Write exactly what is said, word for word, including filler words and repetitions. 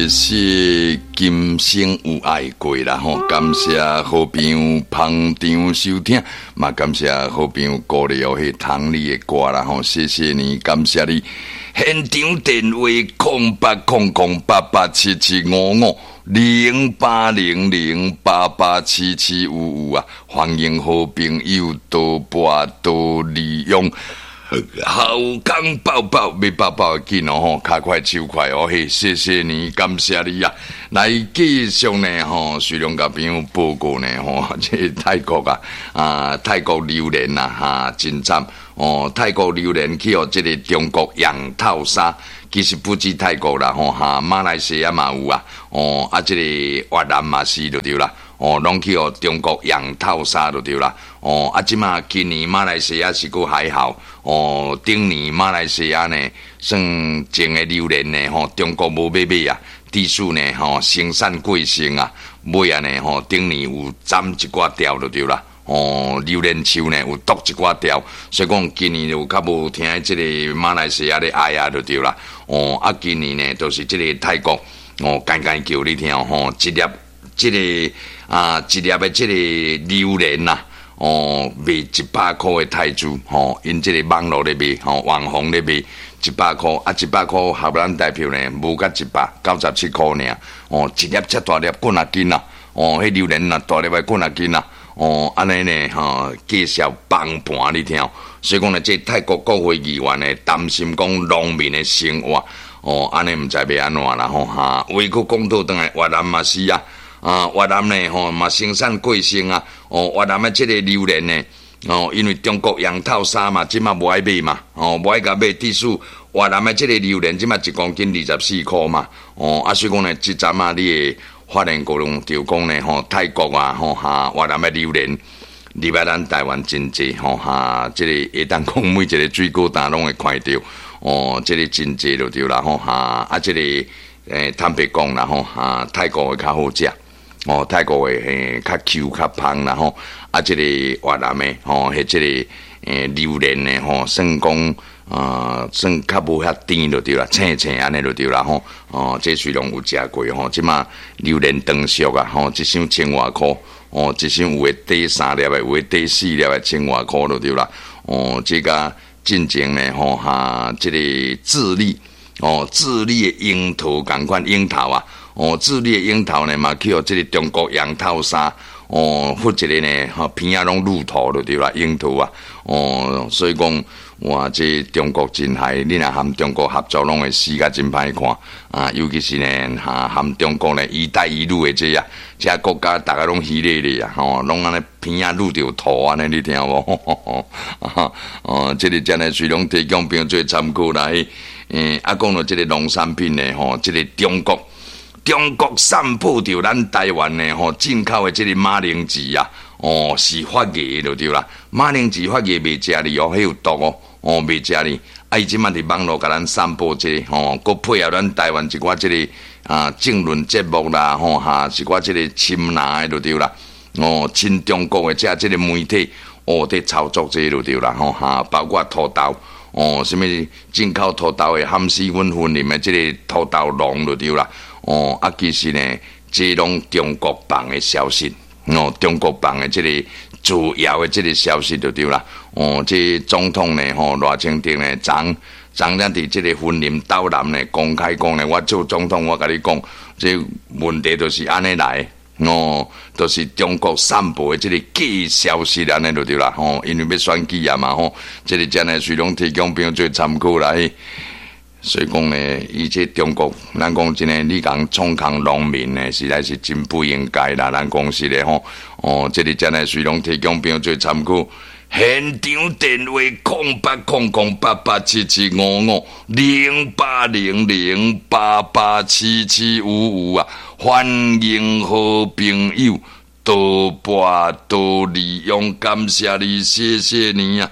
謝謝今生有愛過啦吼，感謝好朋友捧場收聽，嘛感謝好朋友鼓勵哦，彼唐你的歌啦吼，謝謝你，感謝你。現場電話空八空空八八七七五五零八零零八八七七五五啊，歡迎好朋友多撥多利用。好康報報，欲報報緊哦吼，跤快手快哦嘿，謝謝你，感謝你啊！來繼續呢吼，徐龍共朋友報告呢吼，這個泰國啊啊，泰國榴蓮啊哈，真慘哦！泰國榴蓮去予這個中國養套殺，其實不止泰國啦吼哈，馬來西亞嘛有啊哦，啊這個越南嘛是就對啦。哦，攏去予中國養套殺就對啦。哦，啊，這馬今年馬來西亞是閣還好。哦，頂年馬來西亞呢，算種的榴蓮呢，吼，中國無欲買啊，致使呢，吼，生產過剩啊，尾仔呢，吼，頂年有斬一寡條就對啦。哦，榴蓮樹呢有剁一寡條，所以講今年有較無聽這个馬來西亞咧哀啊就對啦。哦，啊，今年呢，就是這个泰國，哦，干干叫你聽吼，一粒這个。啊，一粒的這个榴蓮呐，哦，賣一百箍的泰銖，吼，𪜶這个網路咧賣，吼，網紅咧賣一百箍，啊，一百箍合咱台票呢，無甲一百九十七箍爾，哦，一粒遮大粒幾若斤啊，哦，彼榴蓮若大粒的幾若斤啊，哦，按呢呢，吼，繼續崩盤你聽，所以講呢，這泰國國會議員呢，擔心講農民的生活，哦，按呢毋知欲按怎啦，吼，哈，話閣講倒轉來，越南嘛是啊。啊，越南呢，吼嘛生產過剩啊，哦，越南的這个榴蓮呢，哦，因為中國養套殺嘛，這馬無愛買嘛，哦，無愛共買，致使越南的這个榴蓮這馬一公斤二十四箍嘛，哦，啊，所以講呢，這陣仔你會發現講就講呢，吼，泰國啊，吼哈，越南的榴蓮入來咱台灣真濟，吼哈，這个會當講每一个水果攤攏會看著，哦，這个真濟就對啦，吼哈，啊，這个欸，坦白講啦，吼哈，泰國的較好食。哦，泰國的嘿較 Q 較芳啦吼，啊，這个越南的吼，彼這个欸榴蓮的吼，算講啊，算較無遐甜就對啦，青青按呢就對啦吼。哦，這雖然有食過吼，這馬榴蓮成熟啊，吼，一箱千外箍，哦，一箱有的短三粒的，有的短四粒的，千外箍就對啦。哦，這个進前呢吼，哈，這个智利，哦，智利的櫻桃仝款櫻桃啊。哦，智利的櫻桃呢嘛，去予這个中國養套殺，哦，發一个呢，吼，鼻仔攏乳頭就對啦，櫻桃啊，哦，所以講，哇，這中國真害，你若和中國合作，攏會死甲真歹看啊！尤其是呢，哈，和中國呢，一帶一路的這啊，這國家逐个攏虛咧咧啊，吼，攏按呢鼻仔滷著塗按呢，你聽無？哦，這个真的隨攏提供朋友做參考啦。欸，啊，講到這个農產品呢，吼，這个中國。中國散布著咱台灣的吼進口的這個馬鈴薯啊，哦是發芽就對啦。馬鈴薯發芽袂食哩哦，彼有毒哦，哦袂食哩。啊，伊這馬佇網路共咱散布這个吼，閣配合咱台灣一寡這个啊政論節目啦，吼哈，一寡這个親藍的就對啦。哦，親中國的這這个媒體哦，佇操作這个就對啦，吼哈，包括土豆，哦，啥物進口土豆的含死阮雲林的這个土豆農就對啦。哦，啊，其實呢，這攏中國放的消息，哦，中國放的這个造謠的這个消息就對啦。哦，這總統呢，吼賴清德呢，昨昨昏佇這个雲林斗南呢公開講呢，我做總統，我共你講，這問題就是按呢來，哦，就是中國散布的這个假消息按呢就對啦。吼，因為欲選舉啊嘛，吼，這个真的隨攏提供朋友做參考啦。所以講呢，伊這中國，咱講真的，你共創空農民呢，實在是真不應該啦。咱講實的吼，哦，這个真的隨攏提供朋友做參考。現場電話空八空空八八七七五五零八零零八八七七五五啊，歡迎好朋友多撥多利用，感謝你，謝謝你啊。